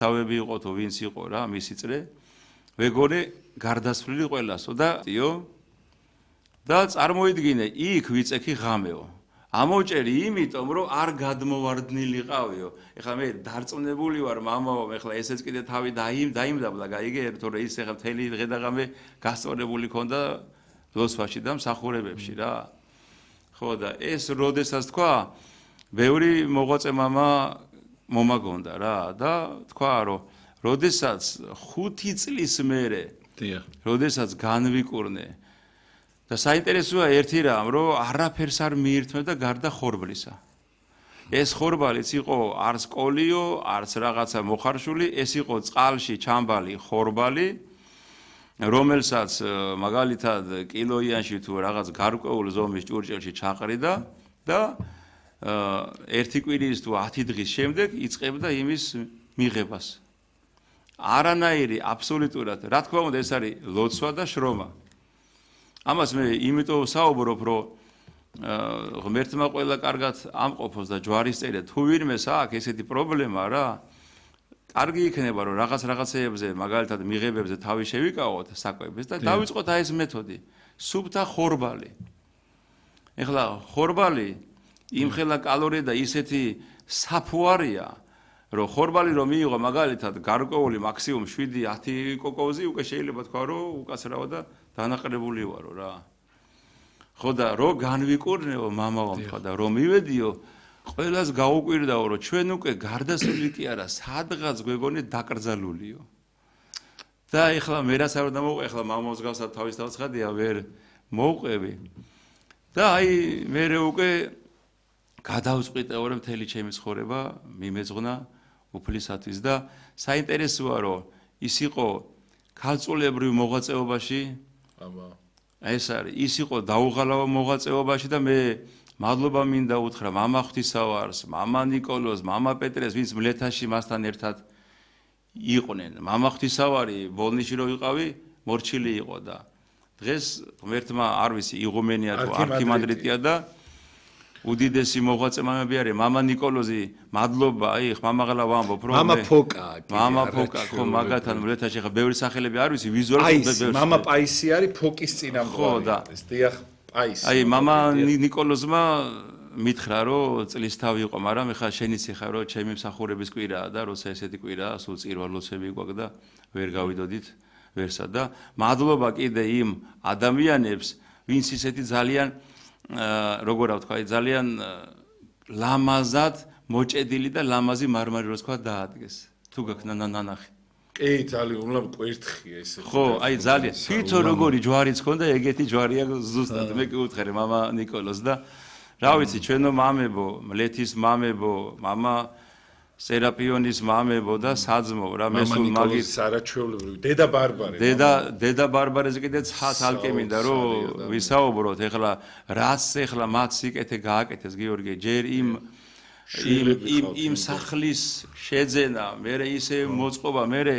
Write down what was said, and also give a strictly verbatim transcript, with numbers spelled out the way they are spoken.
თავები იყო თუ ვინც იყო რა მისი წრე ვეგონე გარდასვლილი ყველასო და იო და წარმოიდგინე იქ ვიწექი ღამეო ამოჭერი იმიტომ რომ არ გადმოვარდნილიყავიო ეხლა მე დარწმუნებული ვარ მამაო ეხლა ესეც კიდე თავი დაიმდაბლა გაიგე თორე ის ეხლა მთელი დღე და ღამე გასწორებული ქონდა დოსვაში და მსახურებებში რა ხო და ეს როდესაც თქვა ბევრი მოღვაწე მამა მომაგონდა რა და თქვა რომ როდესაც ხუთი წლის მერე როდესაც განვიკურნე და საინტერესოა ერთი რამ რომ არაფერს არ მიირთმევდა გარდა ხორბლისა ეს ხორბალიც იყო არც კოლიო არც რაღაცა მოხარშული ეს იყო წყალში ჩამბალი ხორბალი რომელსაც მაგალითად კილოიანში თუ რაღაც გარკვეულ ზომის ჭურჭელში ჩაყრიდა და ერთი კვირის თუ ათი დღის შემდეგ იწყებდა იმის მიღებას არანაირი აბსოლუტურად რა თქმა უნდა ეს არის ლოცვა და შრომა ამას მე იმიტომ საუბრობ რომ ღმერთმა ყველა კარგად ამყოფოს და ჯვარისწერია თუ ვინმეს აქვს ესეთი პრობლემა რა კარგი იქნება რომ რაღაც რაღაცეებზე მაგალითად მიღებებზე თავი შევიკავოთ საკვებს და დავიწყოთ აი ეს მეთოდი სუფთა ხორბალი ეხლა ხორბალი იმხელა კალორია და ისეთი საფუარია რომ ხორბალი რომ მიიღო მაგალითად გარკვეული მაქსიმუმ შვიდი ათი კოკოზი უკვე შეიძლება თქვა რომ უკაცრავა და დანაყრებული ვარო რა ხო და რო განვიკურნეო მამაო თქვა და რომ მივედიო ყველას გაუკვირდაო რომ ჩვენ უკვე გარდასვლილი კი არა სადღაც გვეგონე დაკრძალულიო და ეხლა მე რაც არ დამოვყე ეხლა მამაოს გავსად თავის თავს ხადია ვერ მოვყვები და აი მე უკვე გადავწყვიტე რომ მთელი ჩემი ცხოვრება მიმეძღვნა უფლისათვის და საინტერესოა რომ ის იყო ქალწულებრივ მოღვაწეობაში აბა ეს არის ის იყო დაუღალავ მოღვაწეობაში და მე მადლობა მინდა უთხრა მამა ღვთისავარს მამა ნიკოლოზ მამა პეტრეს ვინც მლეთაში მასთან ერთად იყვნენ მამა ღვთისავარი ბოლნიში რო ვიყავი მორჩილი იყო და დღეს ღმერთმა არ ვიცი იღუმენია თუ არქიმანდრიტია და უდიდესი მოღვაწე მამები არის მამა ნიკოლოზი მადლობა აი ხმამაღლა ვამბობ რომ მამა ფოკა მამა ფოკა ხო მაგათთან მლეთაში ხა ბევრი სახელები არ ვიცი ვიზუალურად ბევრი მამა პაისი არის ფოკის წინამძღვარი ეს დიახ პაისი აი მამა ნიკოლოზმა მითხრა რომ წლის თავი იყო მაგრამ ეხა შენიც ეხა რომ ჩემი მსახურების კვირაა და როცა ესეთი კვირაა სულ წირვალოცები გვაქვს და ვერ გავიდოდით ვერსა და მადლობა კიდე იმ ადამიანებს ვინც ისეთი ძალიან როგორ ვთქვა ძალიან ლამაზად მოჭედილი და ლამაზი მარმარი რო თქვა დაადგეს თუ გაქვს ნანახი კი ძალიან უმლამ კვერთხია ესე ხო აი ძალიან თვითონ როგორი ჯვარიც ქონდა ეგეთი ჯვარია ზუსტად მე კი უთხარი მამა ნიკოლოზ და რა ვიცი ჩვენო მამებო მლეთის მამებო მამა სერაპიონის მამებო და საძმო რა მესულ მაგის სარაჩვეულებრივი დედა ბარბარე დედა დედა ბარბარეზე კიდე ცალკე მინდა რომ ვისაუბროთ ეხლა რაც ეხლა მათ სიკეთე გააკეთეს გიორგი ჯერ იმ იმ იმ სახლის შეძენა მერე ისე მოწყობა მერე